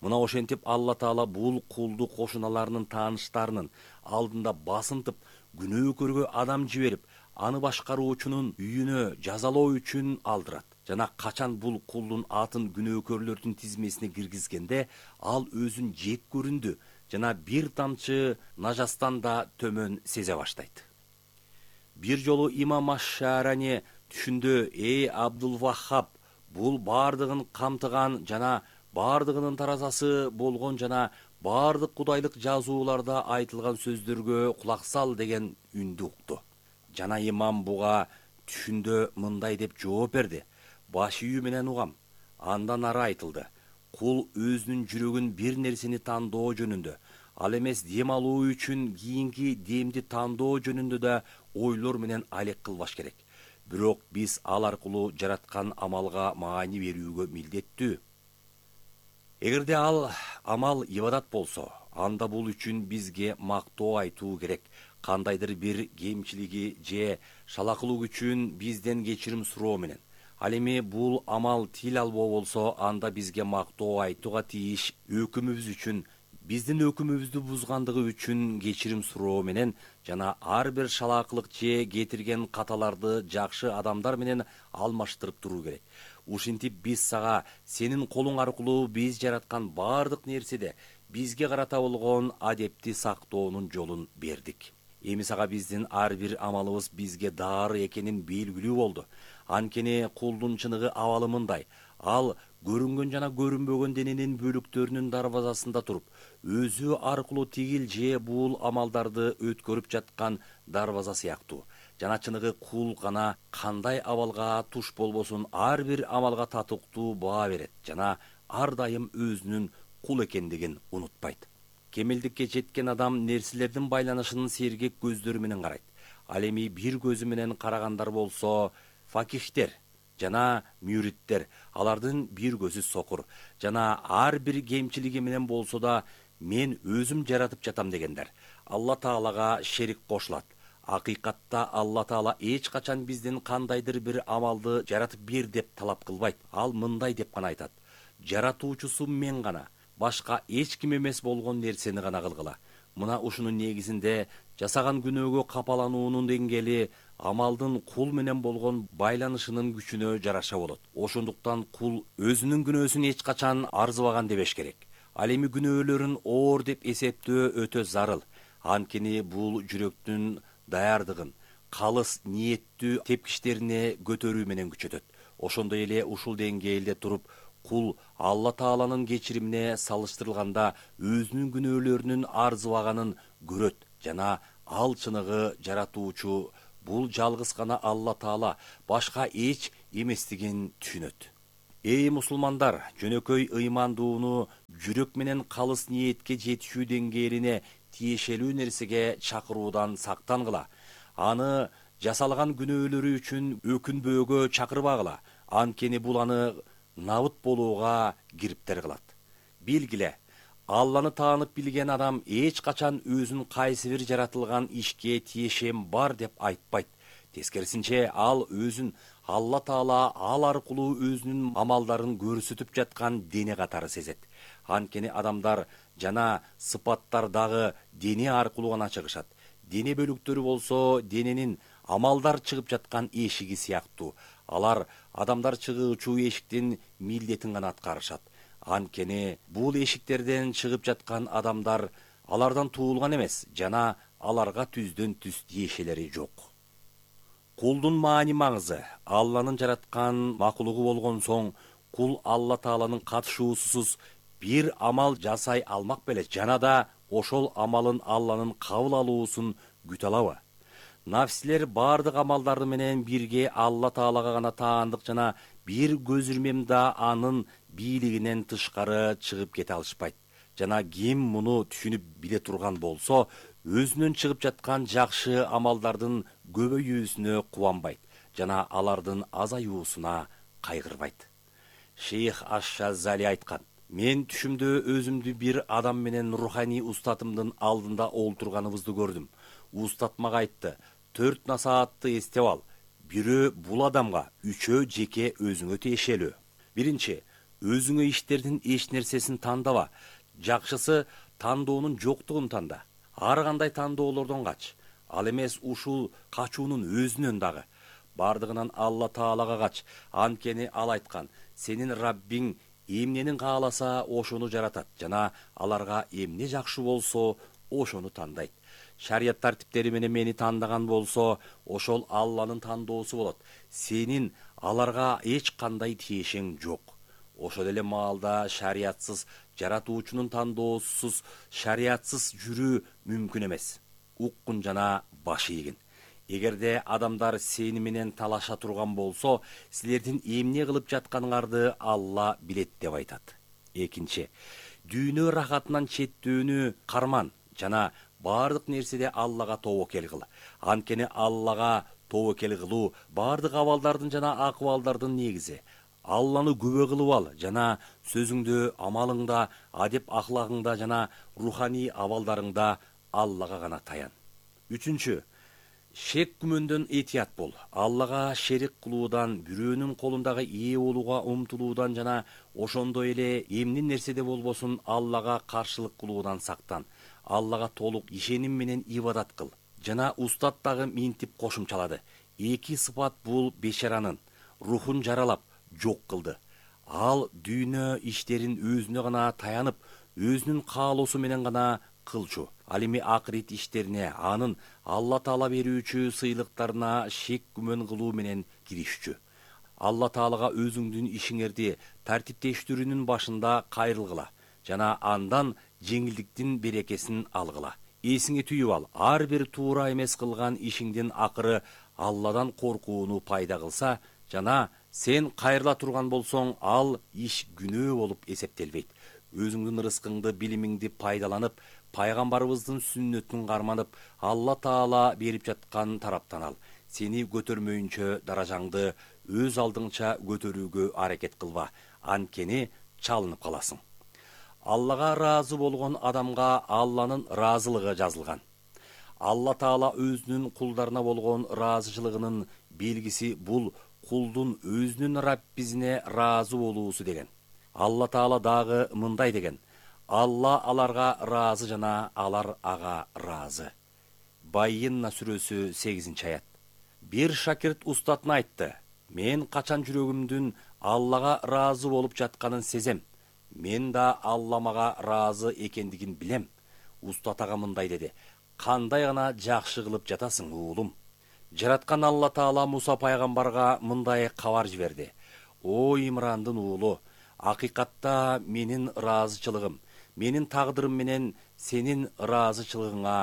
Мына ошентип Алла Таала бул кулду кошуналарынын тааныштарынын алдында басынтып, күнөө көргө адам жиберип, аны башкаруучунун үйүнө жазалоо үчүн алдырат. Жана качан бул кулдун атын күнөөкөрлөрдүн тизмесине киргизгенде, ал өзүн жек көрүндү жана бир тамчы нажастан да төмөн сезе баштайт. Бир жолу имам Аш-Шаарани түшүндө: "Эй Абдул Ваххаб, бул бардыгын камтыган жана бардыгынын таразасы болгон жана бардык кудайлык жазууларда айтылган сөздөргө кулак сал" деген үндү укту. Жана имам буга түшүндө мындай деп жооп берди: "Баш ийүү менен угам." Андан ары айтылды: "Кул өзүнүн жүрөгүн бир нерсени тандоо жөнүндө, ал эмес дем алуу үчүн кийинки демди тандоо жөнүндө да ойлор менен алек кылбаш керек. Бирок биз ал аркылуу жараткан амалга маани берүүгө милдеттүү. Эгерде ал амал ибадат болсо, анда бул үчүн бизге мактоо айтуу керек. Кандайдыр бир кемчилиги же шалакылык үчүн бизден кечирим суроо менен. Ал эми бул амал тил албоо болсо, анда бизге мактоо айтууга тийиш өкүмүбүз үчүн, биздин өкүмүбүздү бузгандыгы үчүн кечирим суроо менен жана ар бир шалакылык же кетирген каталарды жакшы адамдар менен алмаштырып туруу керек. Ушинтип биз сага сенин колуң аркылуу биз жараткан бардык нерседе бизге карата болгон адепти сактоонун жолун бердик. Эми сага биздин ар бир амалыбыз бизге дары экенин белгилүү болду. Анткени кулдун чыныгы абалы мындай: ал көрүнгөн жана көрүнбөгөн дененин бөлүктөрүнүн дарбазасында туруп, өзү аркылуу тигил же бул амалдарды өткөрүп жаткан дарбаза сыяктуу. Жана чыныгы кул гана кандай абалга туш болбосун ар бир амалга татыктуу баа берет жана ар дайым өзүнүн кул экендигин унутпайт. Кемелдикке жеткен адам нерселердин байланышын сергек көздөр менен карайт. Ал эми бир көзү менен карагандар болсо факихтер жана мүриттер, алардын бир көзү сокур жана ар бир кемчилиги менен болсо да мен өзүм жаратып жатам дегендер. Алла Таалага шерик кошулат. Акыйкатта Алла Таала эч качан бизден кандайдыр бир амалды жаратып бер деп талап кылбайт. Ал мындай деп гана айтат: "Жаратуучусу мен гана, башка эч ким эмес болгон нерсени гана кылгыла." Мына ушунун негизинде жасаган күнөөгө капалануунун деңгээли амалдын кул менен болгон байланышынын күчүнө жараша болот. Ошондуктан кул өзүнүн күнөөсүн эч качан арзыбаган дебеш керек. Ал эми күнөөлөрүн оор деп эсептөө өтө зарыл. Анткени бул жүрөктүн даярдыгын, калыс ниеттүү тепкичтерине көтөрүү менен күчөтөт. Ошондой эле ушул деңгээлде туруп, кул Алла Тааланын кечиримине салыштырылганда өзүнүн күнөөлөрүнүн арзыбаганын көрөт жана ал чыныгы жаратуучу бул жалгыз гана Алла Таала, башка эч эместигин түшүнөт. Эй мусулмандар, жөнөкөй ыймандууну жүрөк менен калыс ниетке жетишүү деңгээлине тиешелүү нерсеге чакыруудан сактангыла. Аны жасалган күнөөлөрү үчүн өкүнбөөгө чакырбагыла. Анткени бул аны набыт болууга кириптер кылат. Билгиле, Алланы таанып билген адам эч качан өзүн кайсы бир жаратылган ишке тиешем бар деп айтпайт. Тескерисинче, ал өзүн Алла Таала ал аркылуу өзүнүн амалдарын көрсөтүп жаткан дене катары сезет. Анткени адамдар жана сыпаттар дагы дене аркылуу гана чыгышат. Дене бөлүктөрү болсо дененин амалдар чыгып жаткан эшиги сыяктуу. Алар адамдар чыгуучу эшиктин милдетин гана аткарышат. Анткени бул эшиктерден чыгып жаткан адамдар алардан туулган эмес жана аларга түздөн түз тиешелери жок. Кулдун маани маңызы. Алланын жараткан макулугу болгон соң, кул Алла Тааланын катышуусусуз бир амал жасай алмак беле жана да ошол амалын Алланын кабыл алуусун күтө алабы? Нафсилер бардык амалдары менен бирге Алла Таалага гана таандык жана бир көзүрмем да анын бийлигинен тышкары чыгып кете алышпайт. Жана ким муну түшүнүп биле турган болсо, өзүнөн чыгып жаткан жакшы амалдардын көбөйүүсүнө кубанбайт жана алардын азаюусуна кайгырбайт. Шейх Аш-Шазали айткан: "Мен түшүмдө өзүмдү бир адам менен руханий устатымдын алдында олтурганыбызды көрдүм. Устат мага айтты: 4 насаатты эстеп ал. Бирөө бул адамга, үчөө жеке өзүңө тиешелүү. Биринчи, өзүңө иштердин эч нерсесин тандава. Жакшысы тандоонун жоктугун танда. Ар кандай тандоолордон кач. Ал эмес ушул качуунун өзүнөн дагы. Бардыгынан Алла Таалага кач. Анткени ал айткан: сенин Раббиң эмнени кааласа ошону жаратат жана аларга эмне жакшы болсо ошону тандайт. Шарият тартиптери менен мени тандаган болсо, ошол Алланын тандоосу болот. Сенин аларга эч кандай тиешең жок. Ошол эле маалда шариятсыз, жаратуучунун тандоосусуз, шариятсыз жүрүү мүмкүн эмес. Уккун жана баш ийгин. Эгерде адамдар сени менен талаша турган болсо, силердин эмне кылып жатканыңарды Алла билет деп айтат. Экинчи, дүйнө рахатынан четтөөнү карман жана бардык нерседе Аллага тобокел кыл. Анткени Аллага тобокел кылуу бардык абалдардын жана акыбалдардын негизи. Алланы күбө кылып ал жана сөзүңдө, амалыңда, адеп ахлагыңда жана руханий абалдарыңда Аллага гана таян. Үчүнчү, шек күмөндөн этият бол. Аллага шерик кылуудан, бирөөнүн колундагы ээ болууга умтулуудан жана ошондой эле эмне нерседе болбосун Аллага каршылык кылуудан сактан. Аллага толук ишеним менен ибадат кыл. Жана устат дагы минтип кошумчалады. Эки сыпат бул бешаранын рухун жаралап жок кылды. Ал дүйнө иштерин өзүнө гана таянып, өзүнүн каалоосу менен гана кылчу. Ал эми акырет иштерине, анын Алла Таала берүүчү сыйлыктарына шек күмөн кылуу менен киришчү. Алла Таалага өзүңдүн ишиңерди тартиптештирүүнүн башында кайрылгыла жана андан жеңилдиктин берекесин алгыла. Эсиңе түйүп ал, ар бир туура эмес кылган ишиңдин акыры Алладан коркууну пайда кылса жана сен кайрыла турган болсоң, ал иш күнөө болуп эсептелбейт. Өзүңдүн рызкыңды, билимиңди пайдаланып, пайгамбарыбыздын сүннөтүн карманып, Алла Таала берип жаткан тараптан ал. Сени көтөрмөйүнчө даражаңды өз алдыңча көтөрүүгө аракет кылба, анткени чалынып каласың. Аллага ыраазы болгон адамга Алланын ыраазылыгы жазылган. Алла Таала өзүнүн кулдарына болгон ыраазычылыгынын белгиси бул кулдун өзүнүн Раббизине ыраазы болуусу деген. Алла Таала дагы мындай деген: Алла аларга ыраазы жана алар ага ыраазы. Байинна сүрөсү 8-аят. Бир шакирт устатына айтты: мен качан жүрөгүмдүн Аллага ыраазы болуп жатканын сезем. Мен да Алла мага ыраазы экендигин билем. Устат ага мындай деди: кандай гана жакшы кылып жатасың, уулум. Жараткан Алла Таала Муса пайгамбарга мындай кабар жиберди: о Имрандын уулу, акыйкатта менин ыраазычылыгым, менин тагдырым менен сенин ыраазычылыгыңа